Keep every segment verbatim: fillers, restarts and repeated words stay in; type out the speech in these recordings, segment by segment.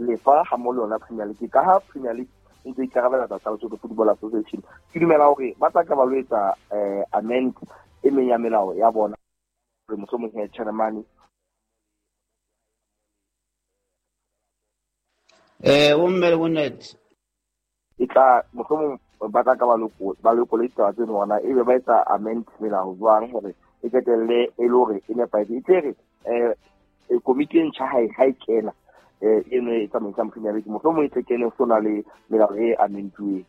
lefa ha mo le yona Premier League ka ha Premier League e ntse ikarabela tsa Lesotho Football Association. Ke dumela hore ba tla ka ba lo etsa eh amend e meng ya melao ya bona hore mohlomong he chairman eh o mme o net e tla mohlomong ba tla ka ba lo ba lo koleta tse nona ebe ba etsa amend melao jwang hore e qetelle e le hore e nepahetse. E tle re eh komiti e ntjha ha e ha e kena eh eno e tsamaisang Premier League mohlomong e tle kene ho na le melao e amendweng.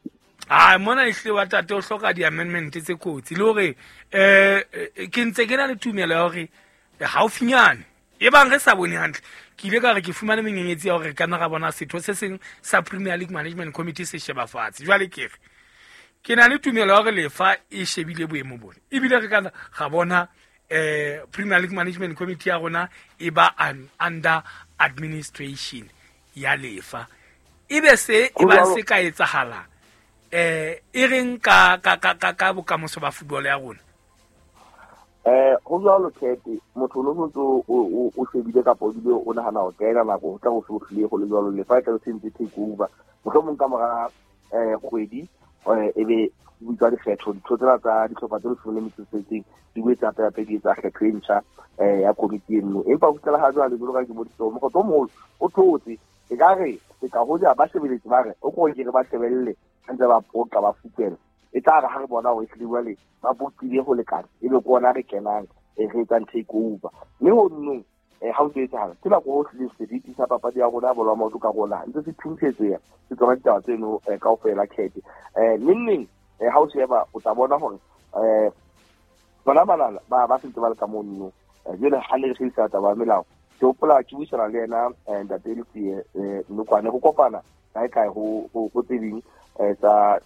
Ah mona ehlile wa tate o hloka di-amendment tse kotsi le hore eh ke ntse ke na le tumelo ya hore haufinyane e bang re sa bone hantle ke ile ka re ke fumane menyenyetsi ya hore ka nna ra bona setho se seng sa Premier League Management Committee se sheba fatshe. Jwale ke re ke na le tumelo ya hore lefa e shebile boemo bona ebile re ka ga bona eh Premier League Management Committee ya rona e ba under administration ya lefa ebe se e ba se ka etsahala eh e reng ka ka ka ka bokamoso ba football ya rona. Eh ho jwalo Kete motho no ntso o o shebile kapa o bile o nahana ho kena nako ho tla ho sohlile go le jwalo lefa e tla se ntse take over mohlomong ka mora eh kgwedi ebe butswa dikgetho ditho tsena tsa dihlopha tse leshome le metso e tsheletseng di boetse hape hape di etsa kgetho e ntjha eh ya komiti eno. Empa ho fihlela ha jwale jwalo ka ke boditse mokgotso o moholo o thotse e ka re se ka hoja ba shebeletse ba re o ko ke re ba shebelle ntse ba poqa ba fukela e tla re ha re bona hore ehlile jwale ba poqile ho lekana ebe ke ona re kenang e re etsang take over. Mme ho nnong eh ha o tlo etsahala ke nako ho hlile seriti sa papadi ya rona ya bolo ya maoto ka rona ntse se thuntshetsweya se tsona ditaba tseno kaofela Kete. Eh neng neng ha o sheba o tla bona hore eh bona bana ba ba sentse ba le ka mono jwale ha ne re sebedisa taba ya melao ke hopola ke buisana le yena ntate Letsie Nokwane go kopana kae kae ho ho tse ding tsa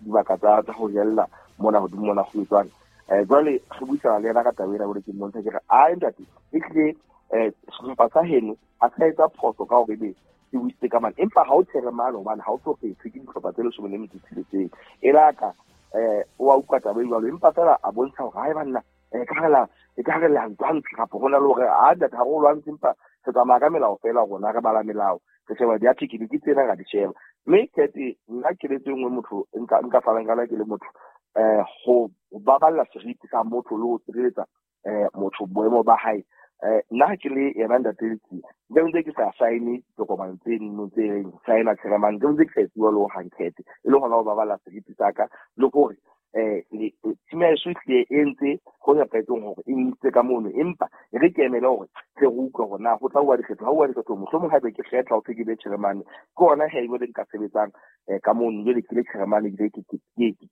dibaka tsa tsa ho jella mona hodimo mona ho etswang. Eh jwale re buisana le yena ka taba ena hore ke mmontsha ke re a ntate e tlile eh sehlopha sa heno a sa etsa phoso ka hore ebe ke buisitse ka mane empa ha o chairman hobane ha o so kgethwe ke dihlopha tse leshome le metso e tsheletseng e laka eh o a utlwa taba e jwalo empa fela a bontsha hore hae banna eh ka hela e ka re le ntwantshe kapa hona le hore a ntate ha re o lwantshe empa re tsamaya ka melao fela rona re bala melao re sheba di-article ke tsena ra di sheba. Mme Kete nna keletso e nngwe motho nka nka fanang ka yona ke le motho eh ho baballa seriti sa motho le ho tshireletsa eh motho boemo ba hae. Eh nna ha ke le yena ntate Letsie nke ntse ke sa sign ditokomane tse nno tse reng sign-a chairman nke ntse ke sa etsuwa le ho hang Kete e le hona ho baballa seriti sa ka le hore eh team ya heso ehlile e entse ho nepahetseng hore e ntse ka mono empa e re ke emele hore tle re utlwe hore na ho tla uwa dikgetho ha uwa dikgetho mohlomong haebe ke kgetha ho thwe ke be chairman ke hona he jwale nka sebetsang ka mono jwale ke le chairman ebile ke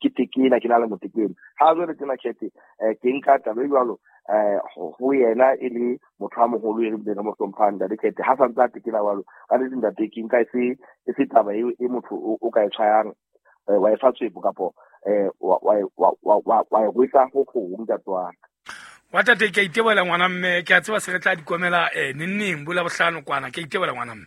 ke tekena ke na le motekeno ha jwale tena Kete ke nka taba e jwalo eh ho yena e le motho a moholo e re bile re mo hlomphang ntate Kete ha sa ntse a tekena jwalo ka nnete ntate ke nka e se e se taba eo e motho o ka e tshwayang wa e fa tswepo kapo eh wa wa wa wa wa rwesa ho gong ntate wa ka. Wa tate ke a itebohela ngwana mme ke a tseba se re tla di komela eh neng neng bola bohlano kwana ke a itebohela ngwana mme.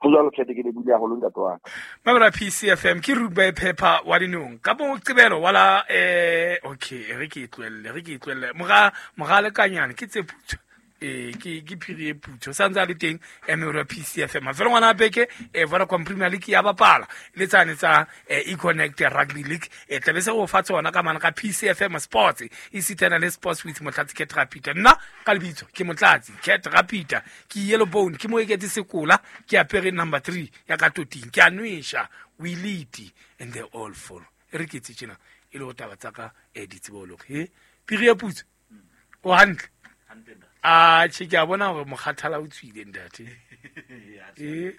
Ho jwalo Kete ke lebile haholo ntate wa ka. Mabra P C F M ke rugby paper wa dinong ka moqebelo wala eh okay re ke tlohelle re ke tlohelle mora mora lekanyane ke tse putso eh ke ke phiri e putso sa ntse a le teng M P C F M mafelo ngwana beke e Vodacom Premier League ya bapala le tsane tsa E-Connect Rugby League e tlabe se go fa tsona ka mana ka P C F M Sports e sitana le Sports with Motlatsi Cat Rapita. Nna ka lebitso ke Motlatsi Cat Rapita ke yellow bone ke mo eketse sekola ke apere number three ya ka toting ke a nwesha we lead and they all follow e re ke tse tjena e le ho taba tsa ka e ditsebolo he phiri e putso o hantle a che ke a bona hore mokgathala o tswile ntate eh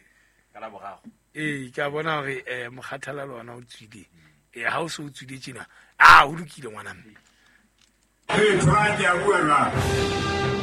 ka la boraro eh ke a bona hore eh mokgathala le ona o tswile eh ha o se o tswile tjena a o lokile ngwana mme eh tshwara ke a bua jwang.